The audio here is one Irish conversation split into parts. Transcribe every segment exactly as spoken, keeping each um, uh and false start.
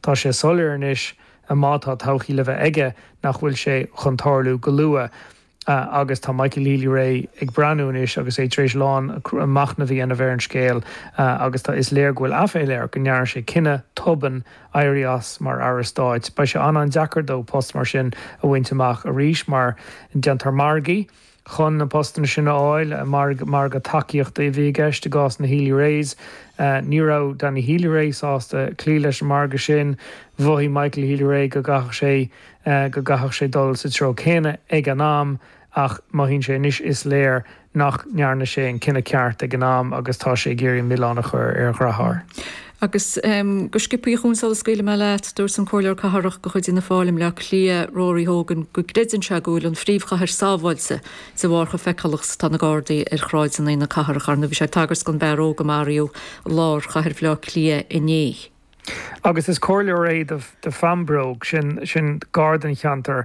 Tá sé soiléir anois má tá todhchaí le bheith aige nach bhfuil sé chun tarlú go luath. Uh, agus tá Michael Healy-Rae ag breathnú anois agus é tar éis lán machnamh a dhéanamh ar an scéal uh, agus tá is léir go bhfuil aiféala air go ndearna sé cinneadh tobann éirí as mar aire stáit. Beidh sé an-deacair dó post mar sin a bhaint amach arís mar déantar margaí chun na postanna sin a fháil mar margadh tacaíochta a bhí i gceist i gcás na Healy-Raes. Uh, ní raibh Danny Healy-Rae sásta cloí leis an margadh sin mhothaigh Michael Healy-Rae go gcaithfeadh sé uh, go gcaithfeadh sé dul sa treo céanna ag an am ach mothaíonn sé anois is léir nach ndearna sé an cinneadh ceart ag an am agus tá sé ag iarraidh milleán a chur ar a dheartháir. Agus um, go sciobtha chun sula scaoilfidh mé leat dúirt an comhairleoir cathrach de chuid Fhianna Fáil i mBleá Cliath Rory Hogan go gcreideann sé go bhfuil an phríomhchathair sábháilte de bharr chomh feiceálach is atá na Gardaí ar shráideanna na cathrach arna bhí sé ag tagairt don bhfear óg a maraíodh i lár chathair Bhaile Átha Cliath inné. Agus is comhairleoir é de, de Pheambróg sin sin gar don cheantar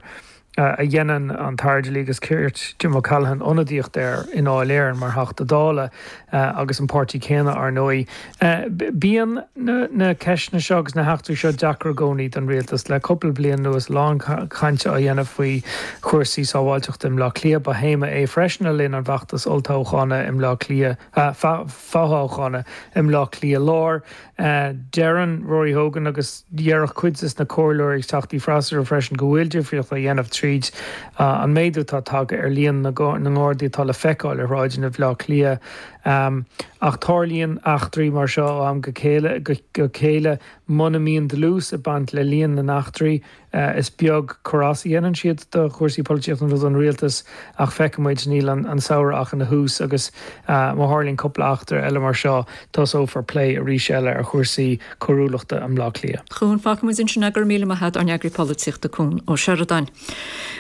uh, a dhéanann an tAire Dlí agus Cirt Jim O'Callaghan ionadaíocht air i nDáil Éireann mar Theachta Dála uh, agus an páirtí céanna ar ndóigh. Uh, bíonn na, na ceisteanna seo agus na heachtraí seo deacair i gcónaí don rialtas le cúpla bliain anuas lán cainte á dhéanamh faoi chúrsaí sábháilteachta i mBleá Cliath ba théama é freisin le linn an fheachtais olltoghcháin i mBleá Cliath uh, fothoghcháin i mBleá Cliath Láir. Uh, Deireann Rory Hogan agus déarfadh cuid de na comhairleoirí teachtaí freasúra freisin go bhfuil difríocht á dhéanamh tríd uh, an méadú atá tagtha ar líon na nGardaí atá le feiceáil ar shráideanna Bhaile Átha Cliath. Um, ach tarlaíonn eachtraí mar seo am go chéile go, go chéile muna mbíonn dlús ag baint le líon na n-eachtraí uh, is beag cor as a dhéanann siad do chúrsaí polaitíochta nó don rialtas ach feicfimid níl an, an samhradh ach ina thús agus uh, má tharlaíonn cúpla eachtra eile mar seo tosófar plé arís eile ar chúrsaí coiriúlachta i mBleá Cliath. Chún fágfaimid ansin é go raibh míle maith agat ár n-eagraí polaitíochta Cuan Ó Seireadáin.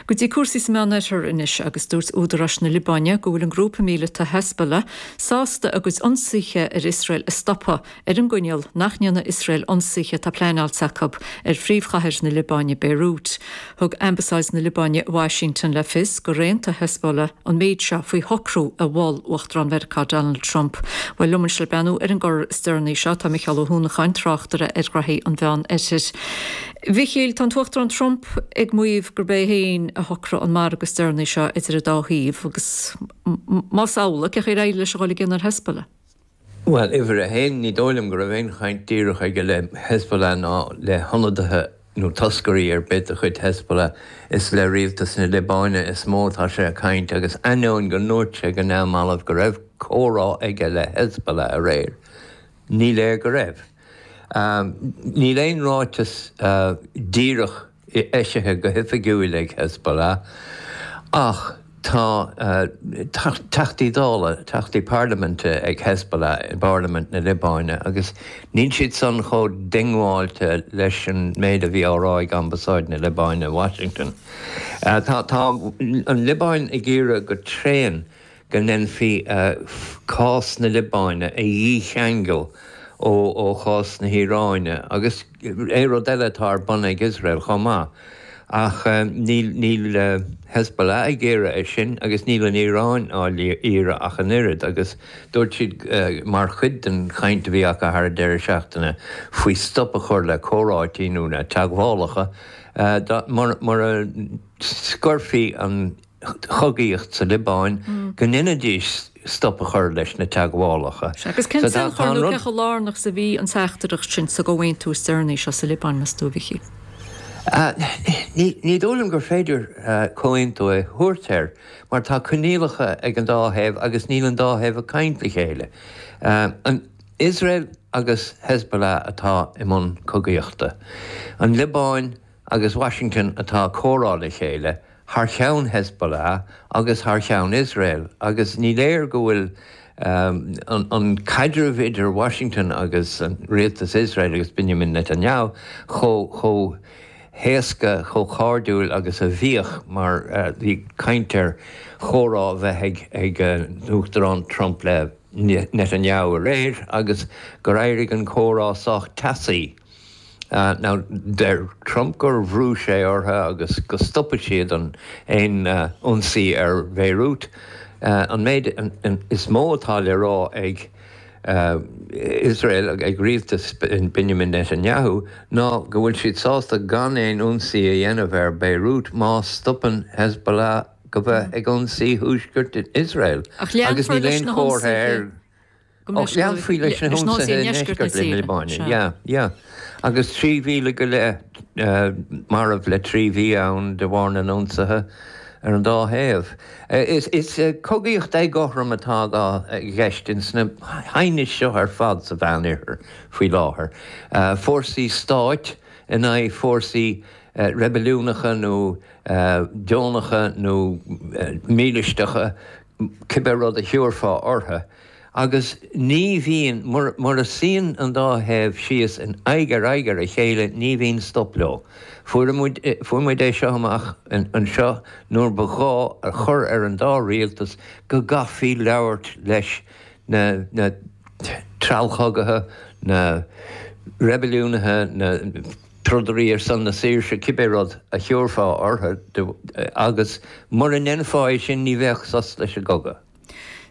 Go dtí cúrsaí sa Mheánoirthear anois agus dúirt údaráis na Liobáine go bhfuil an grúpa míleata Hezbollah sásta a gcuid ionsaithe ar Iosrael a stopadh ar an gcoinníoll nach ndéanfaidh Iosrael ionsaithe atá pleanáilte acu ar phríomhchathair na Liobáine Beirut. Thug Ambasáid na Liobáine Washington le fios gur aontaigh Hezbollah an méid seo faoi shocrú a mhol Uachtarán Mheiriceá Donald Trump. Well liom le breathnú ar an gcor is deireanaí seo tá Micheál Ó hUanacháin tráchtaire ar ghraithí an Mheánoirthir. Mhichíl tá an tUachtarán Trump ag maíomh gurb é féin a shocraigh an margadh is deireanaí seo idir an dá thaobh agus más amhlaidh cén chaoi ar éirigh leis a dhul i gcion ar Hezbollah. Well, uimhir a haon ní dóigh liom go raibh aon chaint díreach aige le Hezbollah ná le hionadaithe nó toscairí ar bith de chuid Hezbollah is le rialtas na Liobáine is mó atá sé ag caint agus ainneoin go ndúirt sé go neamhbhalbh go raibh comhrá aige le Hezbollah aréir. Ní léir go raibh. Um, níl aon ráiteas uh, díreach eisithe go hoifigiúil ag Hezbollah ach tá uh, teachtaí dála teachtaí parlaiminte ag Hezbollah i bParlaimint na Liobáine agus níl siad san chomh diongbháilte leis an méid a bhí á rá ag Ambasáid na Liobáine Washington. Uh, tá, tá an Liobáin ag iarraidh go tréan go ndéanfaí uh, cás na Liobáine a dhícheangal ó ó chás na hIaráine agus é rud eile atá ar bun ag Israel chomh maith. Ach um, níl níl uh, Hezbollah ag iarraidh é sin agus níl an Iaráin á iarraidh ach an oiread agus dúirt siad uh, mar chuid den chaint a bhí acu thar an deireadh seachtaine faoi stop a chur le comhráití nó na teagmhálacha uh, mar, mar a scoirfí an chogaíocht sa Liobáin mm. go ndéanfaidís stop a chur leis na teagmhálacha. Agus cén tionchar nó cé chomh lárnach is a bhí an teachtaireacht sin sa gcomhaontú is deireanaí seo sa Liobáin meas tú a Mhichíl. Uh, ní, ní dóigh liom gur féidir uh, comhaontú a thabhairt air, mar tá coinníollacha ag an dá thaobh agus níl an dá thaobh ag caint le chéile. Uh, an Israel agus Hezbollah atá i mbun cogaíochta. An Liobáin agus Washington atá ag comhrá le chéile, thar cheann Hezbollah agus thar cheann Israel, agus ní léir go bhfuil um, an, an caidreamh idir Washington agus an rialtas Israel agus Benjamin Netanyahu chomh chomh héasca chomh cairdiúil agus a bhíodh mar uh, bhí caint ar chomhrá bheith ag ag uh, Uachtarán Trump le Netanyahu aréir agus gur éirigh an comhrá sách teasaí. Uh, now deir Trump gur bhrú sé orthu agus go stopfaidh siad an aon uh, ionsaí ar Beirut. Uh, an méid an, an, is mó atá le rá ag Iosrael, ag rialtas Benjamin Netanyahu, ná go bhfuil siad sásta gan aon ionsaí a dhéanamh ar Beirut má stopann Hezbollah go bheith ag ionsaí thuaisceart Iosrael. Agus níl aon chomhartha air. Ach leanfaí leis na hionsaithe i ndeisceart na Liobáine. Yeah, yeah. Agus trí mhíle go leith marbh le trí mhí ann de bharr na n-ionsaithe ar an dá thaobh. Is cogaíocht éagothrom atá i gceist ins na haighnis seo ar fad sa Mheánoirthear faoi láthair. Fórsaí stáit in aghaidh fórsaí reibiliúnacha nó deonacha nó mílisteacha, cibé rud a thiúrfá orthu. Agus ní bhíonn, mura suíonn an dá thaobh síos in aghaidh ar aghaidh ar a chéile, ní bhíonn stop leo. Fuair muid, fuair muid é seo amach anseo nuair ba ghá a chur ar an dá rialtas go gcaithfí labhairt leis na, na treallchogaithe, na reibiliúnaithe, na trodairí ar son na saoirse, cibé rud a thiúrfá orthu, agus mura ndéanfá é sin ní bheadh sos leis an gcogadh.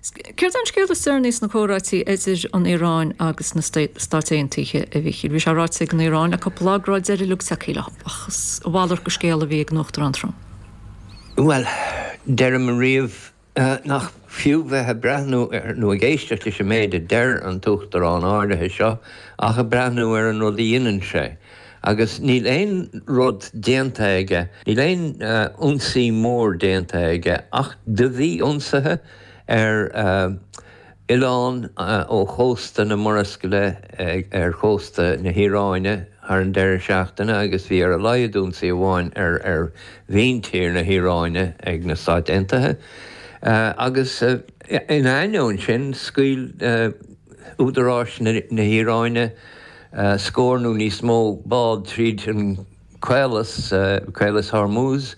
Céard é an scéal is deireanaí sna comhráití idir an Iaráin agus na Stáit Aontaithe, a Mhíchíl? Bhí sé ráite ag an Iaráin le cúpla lá go raibh deireadh uilig tagtha leo, ach is a mhalairt de scéal a bhí ag an Uachtarán Trump. Bhuel, deirim riamh nach fiú bheith ag breathnú ar nó ag éisteacht leis an méid a deir an tUachtarán áirithe seo ach ag breathnú ar an rud a dhéanann sé. Agus níl aon rud déanta aige, níl aon ionsaí mór déanta aige ach do bhí ionsaithe ar oileán ó chósta na Murascaille ar chósta na hIaráine thar an deireadh seachtaine agus bhí ar a laghad ionsaí amháin ar ar mhíntír na hIaráine ag na Stáit Aontaithe. Agus ina ainneoin sin, scaoil údaráis na hIaráine scór nó níos mó bád tríd an caolas, Caolas Hormuz,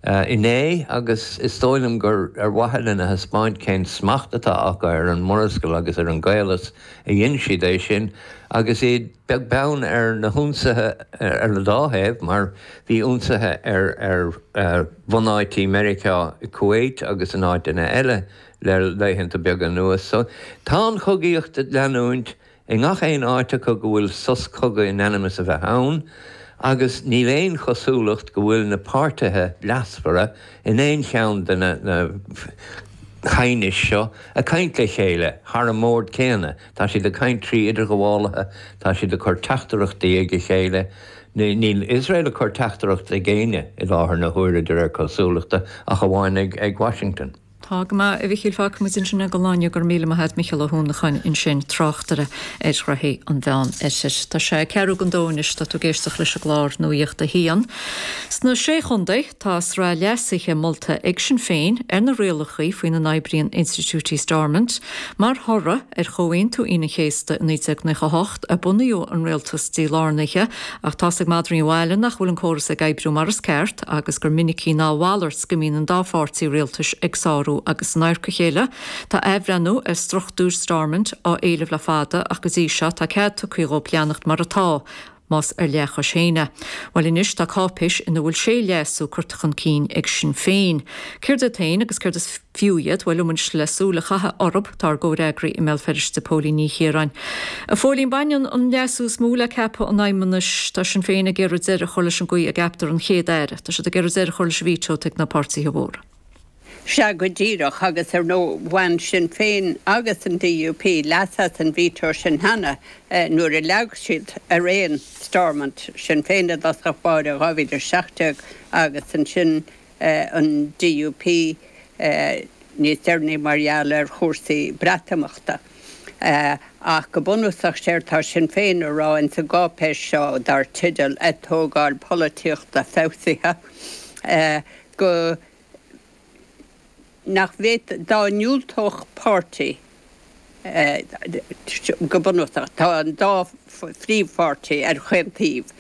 inné agus is dóigh liom gur ar mhaithe lena thaispeáint cén smacht atá acu ar an Murascaill agus ar an gcaolas a dhein siad é sin agus iad beag beann ar na hionsaithe ar an dá thaobh mar bhí ionsaithe ar ar bhunáití Meiriceá i Kuwait agus in áiteanna eile le laethanta beaga anuas. So tá an chogaíocht ag leanúint. I ngach aon áit acu go bhfuil sos cogaidh in ainm is a bheith ann, agus níl aon chosúlacht go bhfuil na páirtithe leasmhara in aon cheann de na haighnis seo ag caint le chéile thar an mbord céanna. Tá siad ag caint trí idirghabhálaithe, tá siad ag cur teachtaireachtaí ag a chéile. Níl Iosrael ag cur teachtaireacht ag éinne i láthair na huaire de réir cosúlachta, ach amháin ag Washington. Tá go maith, a Mhichíl, fágfaidh muid ansin é don lá inniu. Go raibh míle maith agat, Micheál Ó hUanacháin ansin, tráchtaire ar ghnoithí an Mheán Oirthir. Tá sé ceathrú don dó anois, tá tú ag éisteacht leis an gclár Nuacht a hAon. Sna Sé Chontae, tá sraith leasuithe molta ag Sinn Féin ar na rialacha faoina n-oibríonn institiúidí Stormont. Mar thoradh ar Chomhaontú Aoine an Chéasta i naoi déag nócha a hocht a bunaíodh an rialtas dílárnaithe, ach tá's ag madraí an bhaile nach bhfuil an córas ag oibriú mar is ceart agus gur minicí ná a mhalairt go mbíonn an dá pháirtí rialtais ag sárú agus in adharca a chéile. Tá athbhreithniú ar struchtúr Stormont á éileamh le fada ach go dtí seo tá cead tugtha dhóibh leanacht mar atá, más ar leathchois féin é. Bhuel anois tá cáipéis ina bhfuil sé leasú curtha chun cinn ag Sinn Féin. Céard iad féin agus céard is fiú iad? Bhuel liom anois le súil a chaitheamh orthu tá ár gcomhfhreagraí i mBéal Feirste, Póilín Ní Chiaráin. A Phóilín, baineann an leasú is mó le ceapadh an Fheidhmeannais. Tá Sinn Féin ag iarraidh deireadh a chur leis an gcaoi a gceaptar an Chéad-Aire. Tá siad ag iarraidh deireadh a chur leis an veto atá ag na páirtithe mhóra. Sea, go díreach, agus ar ndóigh bhain Sinn Féin agus an DUP leas as an veto sin cheana nuair a leag siad araon Stormont, Sinn Féin i dtosach báire dhá mhíle a seacht déag agus ansin an DUP níos deireanaí mar gheall ar chúrsaí Breatimeachta. Ach go bunúsach séard tá Sinn Féin a rá ins an gcáipéis seo dar teideal Atógáil Polaitíochta Feabhsaithe go nach bhféadfadh, dá ndiúltódh páirtí, go bunúsach, tá an dá phríomhpháirtí ar chaon taobh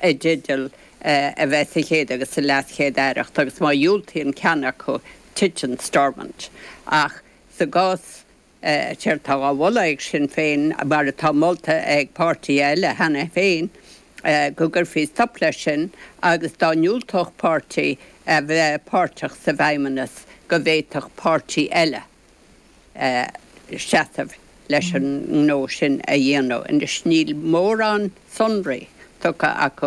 i dteideal a bheith sa chéad agus sa leaschéad-aireacht agus má dhiúltaíonn ceann acu, titeann Stormont. Ach sa gcás Séard atá á mholadh ag Sinn Féin, mar atá molta ag páirtithe eile cheana féin, go gcuirfí stop leis sin agus dá ndiúltódh páirtí a bheith páirteach sa bhFeidhmeannas go bhféadfadh páirtí eile seasamh leis an ngnó sin a dhéanamh. Anois níl mórán sonraí tugtha acu